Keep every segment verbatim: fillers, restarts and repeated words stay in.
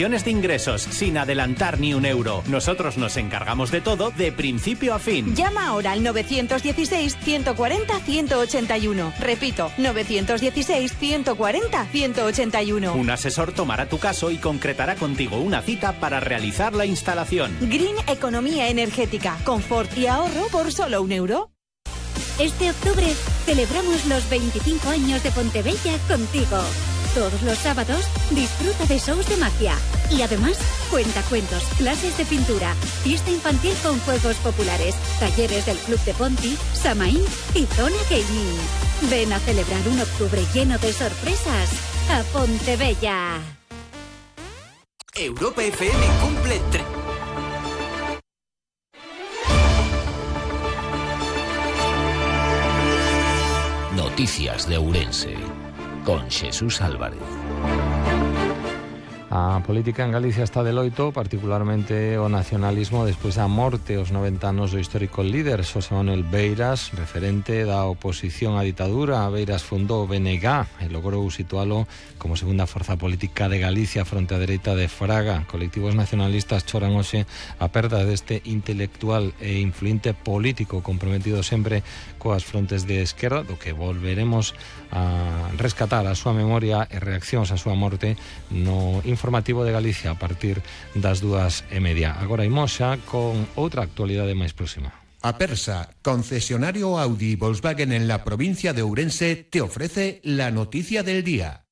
condiciones de ingresos, sin adelantar ni un euro. Nosotros nos encargamos de todo, de principio a fin. Llama ahora al novecientos dieciséis, ciento cuarenta, ciento ochenta y uno. Repito, novecientos dieciséis, ciento cuarenta, ciento ochenta y uno. Un asesor tomará tu caso y concretará contigo una cita para realizar la instalación. Green Economía Energética, confort y ahorro por solo un euro. Este octubre celebramos los veinticinco años de Pontebella contigo. Todos los sábados disfruta de shows de magia y además cuentacuentos, clases de pintura, fiesta infantil con juegos populares, talleres del Club de Ponti, Samaín y Zona Gaming. Ven a celebrar un octubre lleno de sorpresas a Pontebella. Europa F M cumple tres. Noticias de Ourense, con Xesús Álvarez. A política en Galicia está de loito, particularmente o nacionalismo, despois da morte aos noventa anos do histórico líder Xosé Manuel Beiras, referente da oposición á ditadura. Beiras fundou o B N G e logrou situalo como segunda forza política de Galicia fronte á dereita de Fraga. Colectivos nacionalistas choran hoxe a perda deste intelectual e influente político comprometido sempre coas frontes de esquerda, do que volveremos a rescatar a súa memoria e reaccións á súa morte no informativo de Galicia a partir das dúas e media. Agora imos xa con outra actualidade máis próxima. Apersa, concesionario Audi Volkswagen en la provincia de Ourense, te ofrece la noticia del día.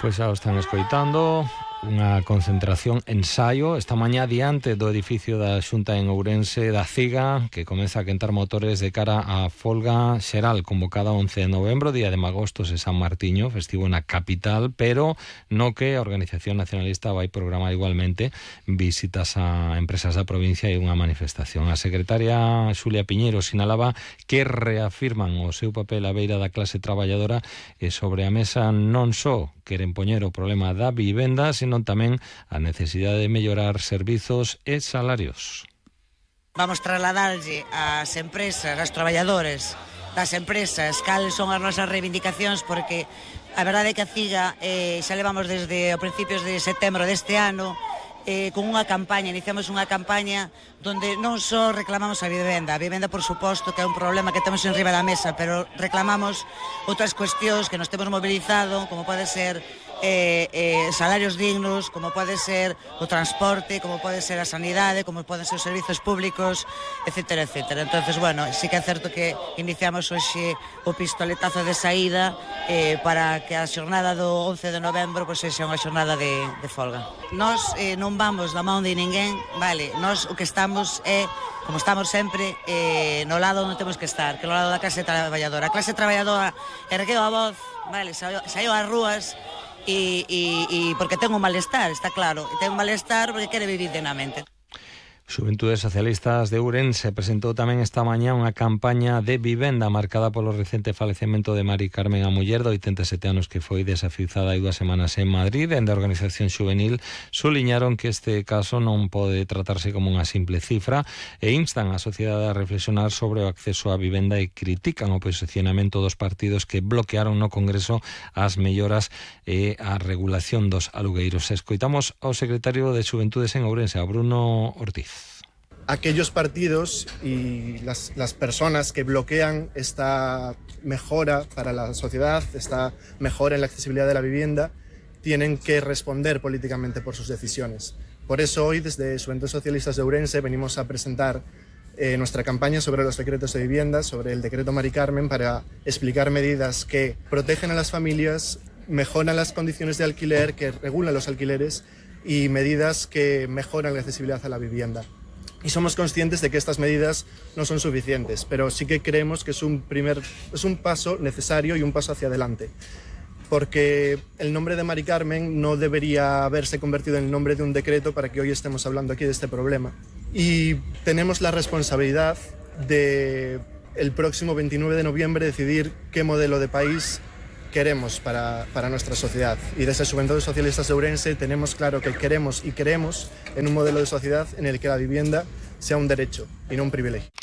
Pois xa o están escoitando, unha concentración ensaio esta mañá diante do edificio da Xunta en Ourense da CIGA, que comeza a quentar motores de cara á folga xeral convocada once de novembro, día de Magostos e San Martiño, festivo na capital, pero no que a Organización Nacionalista vai programar igualmente visitas a empresas da provincia e unha manifestación. A secretaria Xulia Piñeiro sinalaba que reafirman o seu papel á beira da clase traballadora e sobre a mesa non só queren poñer o problema da vivenda, senón tamén a necesidade de mellorar servizos e salarios. Vamos trasladarlle ás empresas, aos traballadores das empresas, cales son as nosas reivindicacións, porque a verdade é que a CIGA eh, xa levamos desde os principios de setembro deste ano eh, con unha campaña, iniciamos unha campaña donde non só reclamamos a vivenda, a vivenda por suposto que é un problema que temos en riba da mesa, pero reclamamos outras cuestións que nos temos mobilizado, como pode ser Eh, eh, salarios dignos, como pode ser o transporte, como pode ser a sanidade, como poden ser os servizos públicos, etcétera, etcétera. Entonces, bueno, sí que é certo que iniciamos hoxe o pistoletazo de saída eh, para que a xornada do once de novembro pois sexa unha xornada de, de folga. Nós eh, non vamos da mão de ninguén, vale, nós o que estamos é, como estamos sempre, eh, no lado onde temos que estar, que é no lado da clase traballadora. A clase traballadora ergueu a voz, vale, saiu, saiu ás rúas, E, e, e porque ten un malestar, está claro, e ten un malestar porque quere vivir dignamente. Xuventudes Socialistas de Ourense presentou tamén esta mañá unha campaña de vivenda marcada polo recente falecemento de Mari Carmen, a muller de oitenta e sete anos que foi desafiuzada hai dúas semanas en Madrid. Dende a organización xuvenil suliñaron que este caso non pode tratarse como unha simple cifra e instan a sociedade a reflexionar sobre o acceso á vivenda e critican o posicionamento dos partidos que bloquearon no Congreso as melloras e a regulación dos alugueiros. Escoitamos ao secretario de Xuventudes en Ourense, a Bruno Ortiz. Aquellos partidos y las, las personas que bloquean esta mejora para la sociedad, esta mejora en la accesibilidad de la vivienda, tienen que responder políticamente por sus decisiones. Por eso hoy, desde Xuventudes Socialistas de Ourense, venimos a presentar eh, nuestra campaña sobre los decretos de vivienda, sobre el decreto Mari Carmen, para explicar medidas que protegen a las familias, mejoran las condiciones de alquiler, que regulan los alquileres y medidas que mejoran la accesibilidad a la vivienda. Y somos conscientes de que estas medidas no son suficientes, pero sí que creemos que es un, primer, es un paso necesario y un paso hacia adelante. Porque el nombre de Mari Carmen no debería haberse convertido en el nombre de un decreto para que hoy estemos hablando aquí de este problema. Y tenemos la responsabilidad de el próximo veintinueve de noviembre decidir qué modelo de país queremos para, para nuestra sociedad. Y desde Juventud Socialistas de Ourense tenemos claro que queremos y queremos en un modelo de sociedad en el que la vivienda sea un derecho y no un privilegio.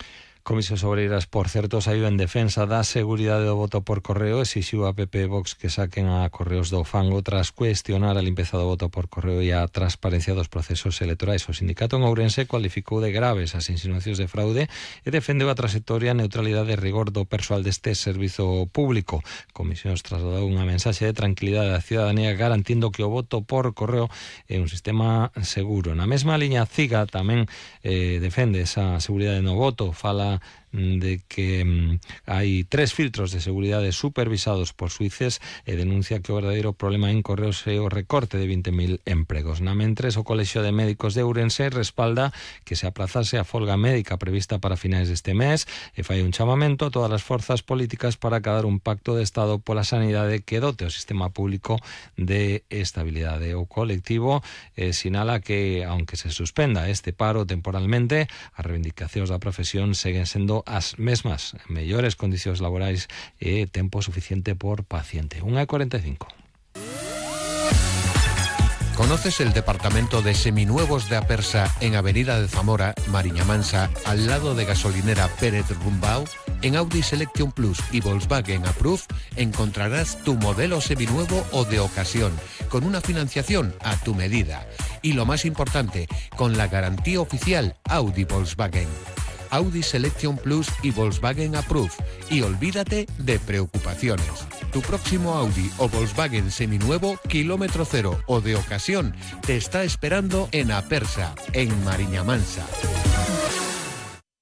Comisións Obreiras, por certo, saiu en defensa da seguridade do voto por correo, exixiu a P P e Vox que saquen a Correos do fango tras cuestionar a limpeza do voto por correo e a transparencia dos procesos electorais. O sindicato en Ourense cualificou de graves as insinuacións de fraude e defendeu a trayectoria, neutralidade e rigor do persoal deste servizo público. Comisións trasladou unha mensaxe de tranquilidade á cidadanía garantindo que o voto por correo é un sistema seguro. Na mesma liña, CIGA tamén eh, defende esa seguridade no voto, fala de que mm, hai tres filtros de seguridade supervisados por suíces e denuncia que o verdadeiro problema en Correos é o recorte de vinte mil empregos. Na mentres, o Colexio de Médicos de Ourense respalda que se aplazase a folga médica prevista para finais deste mes e fai un chamamento a todas as forzas políticas para acadar un pacto de Estado pola sanidade que dote o sistema público de estabilidade. O colectivo eh, sinala que, aunque se suspenda este paro temporalmente, as reivindicacións da profesión seguen sendo as mesmas, mellores condicións laborais e tempo suficiente por paciente. unha e cuarenta e cinco. ¿Conoces el departamento de seminuevos de Apersa en Avenida de Zamora, Mariña Mansa, al lado de gasolinera Pérez Rumbao? En Audi Selection Plus y Volkswagen Approve encontrarás tu modelo seminuevo o de ocasión, con una financiación a tu medida. Y lo más importante, con la garantía oficial Audi Volkswagen. Audi Selection Plus y Volkswagen Approve. Y olvídate de preocupaciones. Tu próximo Audi o Volkswagen seminuevo, kilómetro cero o de ocasión, te está esperando en Apersa, en Mariña Mansa.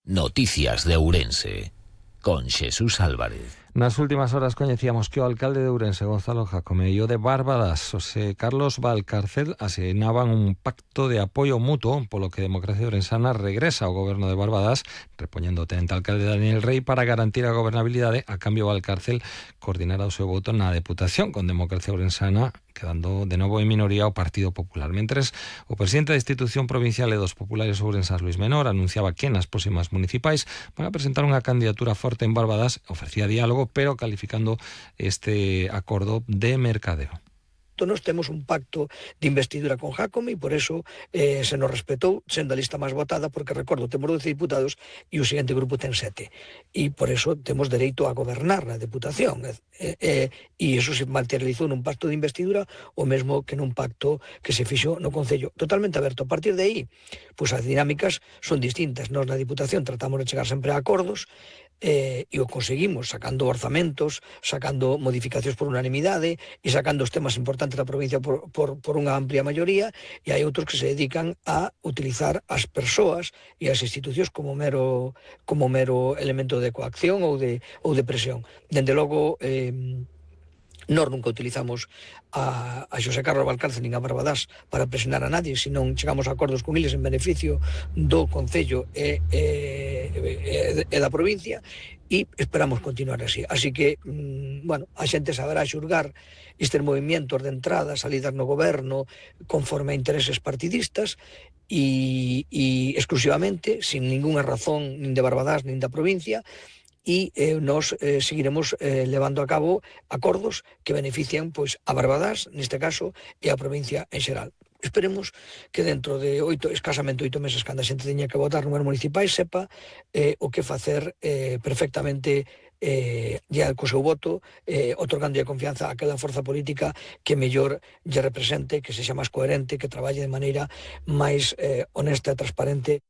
Noticias de Ourense, con Xesús Álvarez. Nas últimas horas coñecíamos que o alcalde de Ourense, Gonzalo Jácome, e o de Barbadas, José Carlos Valcárcel, asinaban un pacto de apoio mutuo polo que Democracia Ourensana regresa ao goberno de Barbadas, repoñendo o tenente alcalde Daniel Rey para garantir a gobernabilidade. A cambio, Valcárcel coordinará o seu voto na Deputación con Democracia Ourensana, quedando de novo en minoría o Partido Popular. Mentres, o presidente da institución provincial e dos populares ourensás, Luis Menor, anunciaba que nas próximas municipais van a presentar unha candidatura forte en Barbadas, ofrecía diálogo, pero calificando este acordo de mercadeo. Nos temos un pacto de investidura con Jácome e por eso eh, se nos respetou sendo a lista máis votada, porque recordo, temos doce diputados e o seguinte grupo ten sete, e por eso temos dereito a gobernar na Deputación, e eh, eh, iso se materializou nun pacto de investidura o mesmo que nun pacto que se fixo no Concello, totalmente aberto. A partir de aí, pois as dinámicas son distintas. Nós na Diputación tratamos de chegar sempre a acordos, Eh, e o conseguimos sacando orzamentos, sacando modificacións por unanimidade e sacando os temas importantes da provincia por, por, por unha amplia maioría, e hai outros que se dedican a utilizar as persoas e as institucións como mero, como mero elemento de coacción ou de, ou de presión. Dende logo, eh, nós nunca utilizamos a, a Xosé Carlos Valcárcel nin a Barbadas para presionar a nadie, senón chegamos a acordos con eles en beneficio do Concello e, e, e, e da provincia, e esperamos continuar así. Así que, mmm, bueno, a xente saberá xulgar estes movimentos de entrada, salidas no goberno, conforme a intereses partidistas, e, e exclusivamente, sin ningunha razón nin de Barbadas nin da provincia, e eh, nos eh, seguiremos eh, levando a cabo acordos que benefician pois a Barbadas, neste caso, e a provincia en xeral. Esperemos que dentro de oito, escasamente oito meses, cando a xente teña que votar números municipais, sepa eh, o que facer eh, perfectamente eh, ya co seu voto, eh, otorgando a confianza a cada forza política que mellor lle represente, que sexa máis coherente, que traballe de maneira máis eh, honesta e transparente.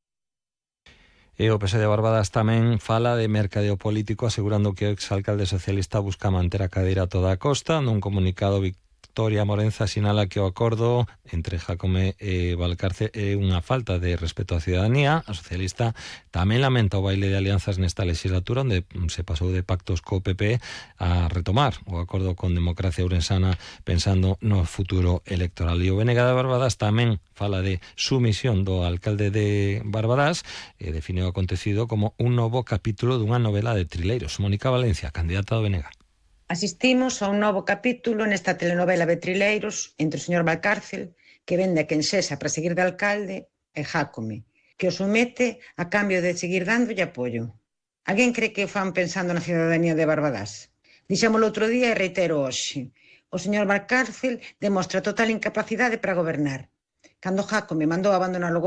E o P S de Barbadas tamén fala de mercadeo político, asegurando que o exalcalde socialista busca manter a cadeira a toda a costa. Nun comunicado, Victoria Morenza sinala que o acordo entre Jácome e Valcárcel é unha falta de respeto á cidadanía. A socialista tamén lamenta o baile de alianzas nesta legislatura, onde se pasou de pactos co P P a retomar o acordo con Democracia Ourensana pensando no futuro electoral. E o B N G de Barbadas tamén fala de sumisión do alcalde de Barbadas e define o acontecido como un novo capítulo dunha novela de trileiros. Mónica Valencia, candidata do B N G. Asistimos a un novo capítulo nesta telenovela de trileiros entre o señor Valcárcel, que vende a quen sexa para seguir de alcalde, e Jácome, que o somete a cambio de seguir dándolle apoio. Alguén cree que o fan pensando na cidadanía de Barbadas? Dixémolo outro día e reitero hoxe. O señor Valcárcel demostra total incapacidade para gobernar. Cando Jácome mandou abandonar o